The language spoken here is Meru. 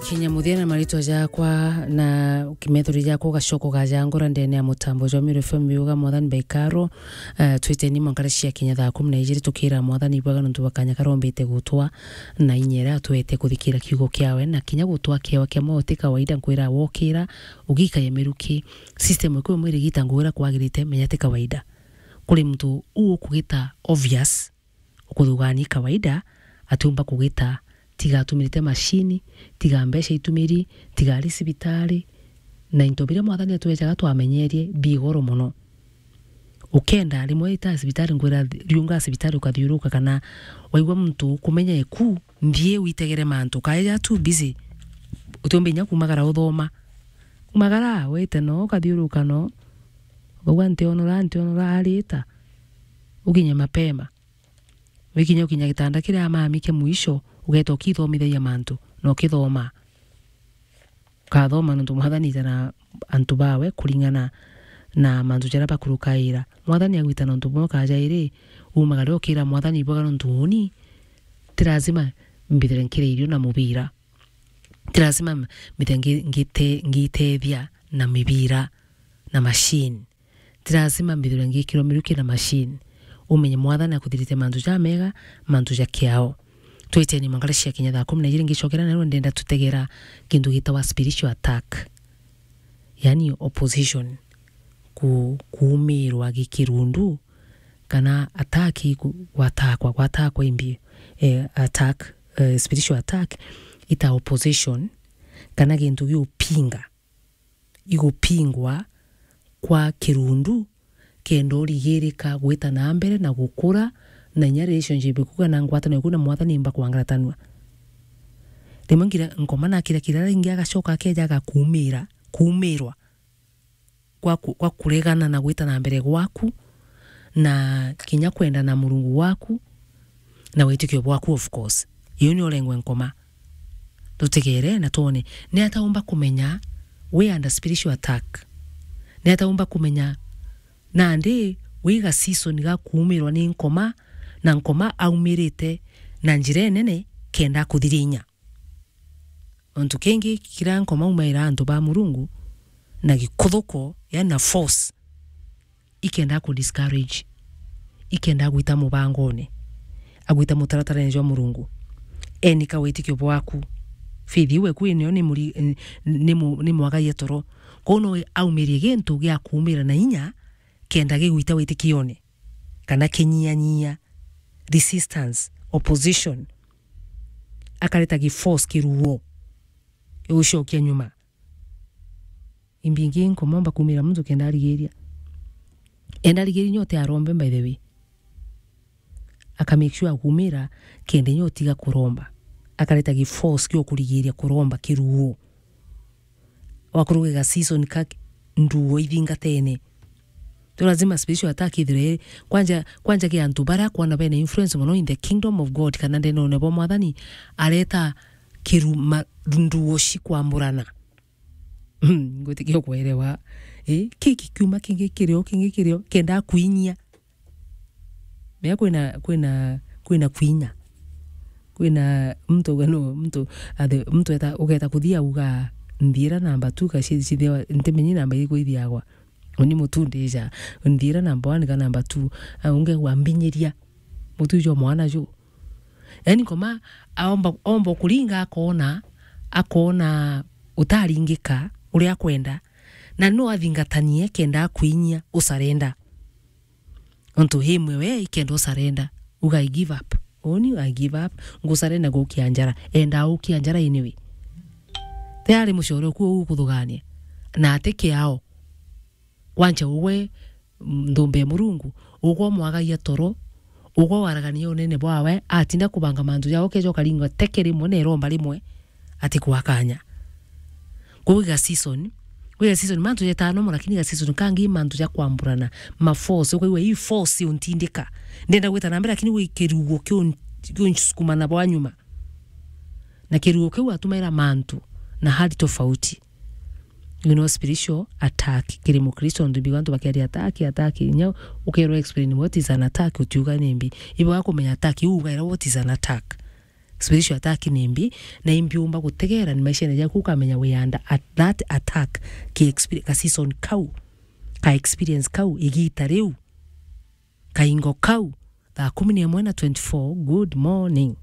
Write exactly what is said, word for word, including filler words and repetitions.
Kinya muthia na maritwa jakwa na kimethuri jakwa ugacoko gajangura ndene ya mutambo jwa Meru F M biuga Mwathani baikaro. Uh, twiteni mwankare cia kinya thaa kumi na ijiri tukira Mwathani ibwaga nontu bwa kanya karombite gutwa na inya iria atwete kuthikira kiugo kiawe na kinya gutwa kiewa kia mauti kawaida nkwira wokira ugikaye miruki system iku imwe irigita ngugira kwagirite menya ti kawaida. Kuri muntu uu ukugita obvious ukuthugania kawaida, atiumba kugita, tiga atumirite mashini, tiga mbeca itumiri, tiga ari cibitari, na into biria Mwathani atwejaga twamenyerie bi goro mono. Ukenda rimwe ita cibitari ngwira riunga cibitari ukathiuruka kana waigua muntu ukumenya eku, nthie witegere mantu, kaeja too busy, utiumba inya kumagara uthoma. Kumagara, wite no, ukathiuruka no, ukauga ntionora, ntionora, arita, ukinye mapema. Wikinya ukinya gitanda kiria amami kia mwisho, ugeta ukithomithagia mantu, na ukithoma. Ukathoma nontu Mwathani ita na antu bawe kuringana na mantu jaria bakurukaira. Mwathani agwita nontu bumwe kajairi, umagare ukira Mwathani ibwaga nontu uni, ti lazima mbithire nkire irio na mubira. Ti lazima mbithire ngi-, ngite-, ngitethia na mibira na machine. Ti lazima mbithirwe ngikirwa miruki na machine. Umenye Mwathani akuthirite mantu jamega, mantu ja kiao. Twiteni mangara cia kinya thaa kumi na ijiri ngicokera nayo ndenda tutegera kintu gitawa spiritual attack. Yani opposition. Ku-, kuumirwa gikirundu kana attack ku-, gwatakwa, gwatakwa imbi, eh, attack, eh, spiritual attack ita opposition kana gintu giupinga igupingwa kwa kirundu kenda urigirika gwita na mbere na gukura na inya relationship iku kana ngwatano iku na Mwathani imba kwangaratanua. Rimwe ngira nkoma na kira kira ringi agacoka akeja agakumira, kumirwa gwa ku-, gwa kuregana na gwita na mbere gwaku, na kinya kwenda na Murungu waku, na witikio bwaku, of course. Iu ni urengwe nkoma. Tutegere na twone. Ni ata umba kumenya we under spiritual attack? Ni ata umba kumenya nandi wi ga season ga kuumirwa ni nkoma, na nkoma aumirite na njira inene kenda akuthiria inya? Untu kingi kira nkoma umaira antu ba Murungu na gikuthuko, yani na force, ikenda ku discourage, ikenda gwita mubangone, agwita mutaratarene jwa Murungu. Enika witikio bwaku. Faith iu eku inio ni muri-, ni mu-, ni mwagagia toro. Kwou no aumirie gintu gia kuumira na inya kenda gigwita witikione, kana kinyianyia, resistance, opposition. Akareta gi force kiruo gigucokia nyuma. Imbingi nkomomba kumira muntu kenda arigiria. Enda arigiria nyote arombe, by the way. Aka make sure akumira kenda nyo tiga kuromba. Akareta gi force kio kurigiria kuromba kiruo. Wakuruga ga season ka nduo ithingatene. Tu lazima spiritual attack ithire. Kwanja, kwanja ki antu bara kwana bena influence mono in the kingdom of God, kana ndenone bwa Mwathani, areta kiruma nduo cikwamburana. Ngwitikia kwerewa. Eh, ki kikiuma kingi kirio, kingi kirio, kenda kwinyia. Mea kwina, kwina, kwina kwinya. Kwina muntu, no, muntu, athe, muntu eta, ugeta kuthia uga, "Nthiira namba two, ka ci-, cithiawa, ntimenyi namba iriku ithiagwa. Uni mutu ndija, nthiira namba one ka namba two." A, unge wambinyiria. Mutu jo mwana ju. Yani, nkoma, aomba, omba kuringa, akona, akona utaringika uria akwenda, na no athingatanie kenda akwinyia usarenda. Ontu himwe we ikenda usarenda, uga, "I give up. Uni, I give up. Ngusarenda gukia njara." Enda ukia njara anyway. Tayari mucore uku ukuthugania. Na ati kiao. Kwancha ugwe, mm, nthumbe ya Murungu, ugwe umwagagia toro, ugwe waragania unene bwawe, atinda kubanga mantu jao, ukeja ukaringwa teke rimwe na iromba rimwe, ati kwa kanya. Kwou iga season, kwi ga season mantu jetaa normal, lakini ga season kangi mantu ja kwamburana, ma force, ukaigua ii force untindika. Ndenda gwita na mbere, lakini gwi kirugo kiun-, kiunsukuma na bwa nyuma. Na kirugo kiu atumaira mantu na hali tofauti. You know, spiritual attack. Kiri Mukristo, ntu mbigwa antu bakeria attack, attack. Inya ukerwa explain what is an attack, utiuga nimbi. Ibo gakumenya attack, iu ugaira what is an attack. Spiritual attack ni mbi, na imbi umba gutegera ni maishene jaku ukamenya we under at that attack ki experience, ka season kau, ka experience kau, igita riu, kaingo kau, thaa kumi na imwe na twenty-four. Good morning.